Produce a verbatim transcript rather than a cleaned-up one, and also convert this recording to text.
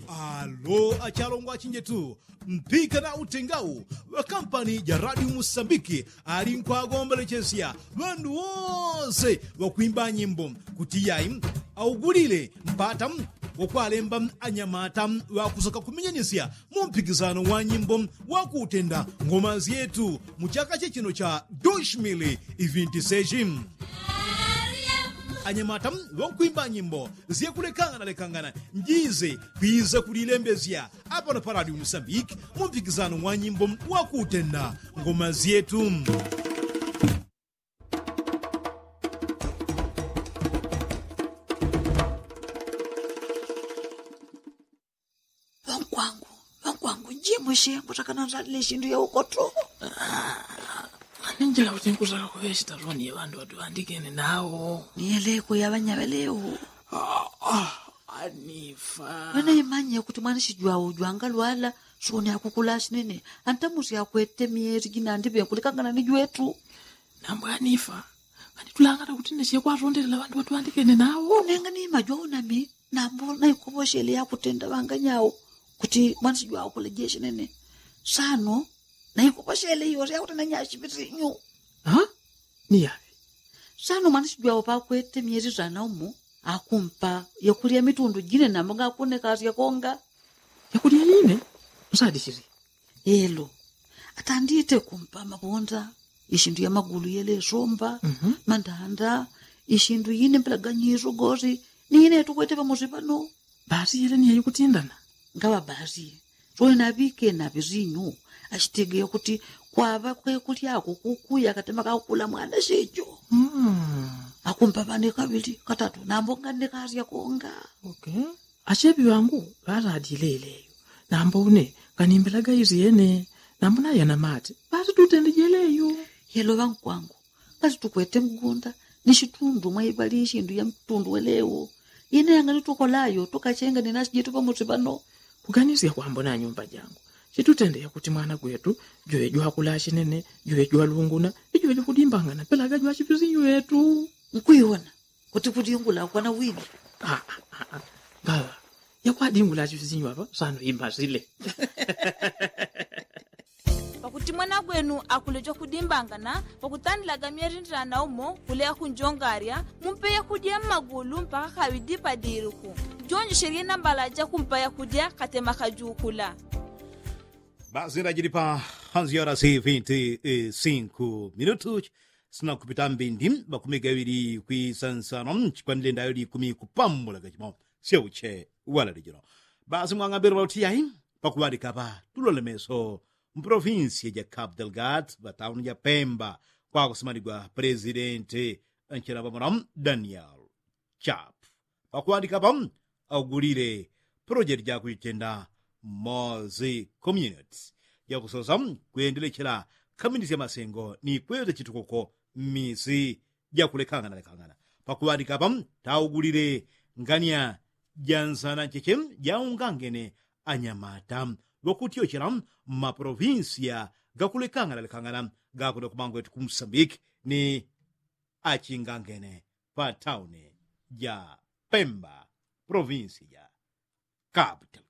Alo achalongo achinjetu, mpika na utengau wa kampani ja radio musambiki ali nkwagombolechesya ŵandu wose ŵakwimba nyimbo kuti yai augulile mpata wokwalemba anyamata ŵakusoka kuminyanisya mu mpikisano wa nyimbo wakutenda ngoma zyetu mu chaka chechino cha dushmili ivinti seshi. Anyamata ŵakwimba nyimbo zyakulekangana lekangana njize kwiza kulilembesya apano pa radio musambiki mu mpikisano wa nyimbo wakutenda ngoma zyetu. Ŵankwangu, ŵankwangu njimwe shengo takana nzalile shindu yaukoto. Ninjila kuti nkutaka kuŵe shitaloni ye ŵandu ŵatuŵandikene nawo. Niyeleko yaŵanyaŵelewo. Anifa. Wena imanye kuti mwana shijwau jwangalwala soni akukula shinene. Antamusi akwete myeri jinandiŵe nkulikangana ni jwetu. Nambwe anifa. Kanitulangana kuti neshe kwatondelela ŵandu ŵatuŵandikene nawo. Nenga ni majwau nami nambo naikoposhele yakutenda ŵanganyau kuti mwana shijwau kulejeshe nene. Sano naikoposhele yose yakutenda nyashipisinyu. Niyaŵe. Sano mwana shijwau pakwete myeri sana umo akumpa yakulya mitundu jine nambo ngakunekasya konga. Yakulya yine? Nsadishili. Elo atandite kumpa mabonda ishindu ya magulu yelesomba, mandanda, ishindu yine mpelaganyiso gosi ni yine tukwete pamosi pano. Basi yele ni yayikutindana. Ngaŵa basi. Soni naŵike naŵisinyu ashitegeya kuti kwaŵa kwekulyako kukuya katema kakukula mwana shejo. Akumpa ŵane kaŵili katatu nambo nganekasya konga. Ashepi ŵangu ŵaladile yeleyo. Nambo une nganimbelaga isyene. Nambo nayana mate ŵatitutende jeleyo. Yelo ŵankwangu, ngati tukwete mgunda ni shitundu mwaiŵali ishindu ya mtundu welewo. Yene yangali tukolayo tukachenga ni nasi jetu pamosi pano. Kuganisya kwambo na nyumba jangu chitutende yakuti mwana gwetu jwe jwakula shinene, jwe jwalunguna, ijwe jwakudimbangana pelaga jwachipisinyu yetu. Nkuiwona kuti kudingula kwana wini. Ngaŵa yakwadingula chifisinyu apa sano imbasile. Pakuti mwana gwenu akule jwakudimbangana pakutandilaga myerindilana umo kuleya kunjongarya mumpe yakudya mmagulu mpaka kaŵidi padiruku. Jonjeshelye nambala jakumpa yakudya katema kajukula. Basi ndajili pa hanzi yora si vinti sinku minutu. Sina kupita mbindi makumi gaŵili kwisansano chikwanile ndayo likumi kupambula gachimo. Syauche wala lijino. Basi mwang'ambilo ŵauti yai pakuŵalika ŵa tulole meso mpolovinsiya ja capital gad ŵatauni ja pemba kwakusimanigwa pulezidenti nchela ŵamona daniel chap pakuŵalika ŵa augulile pulojeti jakuchitenda mozi community jakusosa kwendelechela kaminisya masengo ni kweza chitukuko mmisi jakulekangana lekangana. Pakuŵalika ŵa taugulile ngania ja nsana ncheche jaungangene anyamata ŵakutyochela mmapolovinsiya gakulekangana lekangana gakuno kumangwetu ku musambiki ni achingangene pa tauni ja pemba polovinsiya ja capital.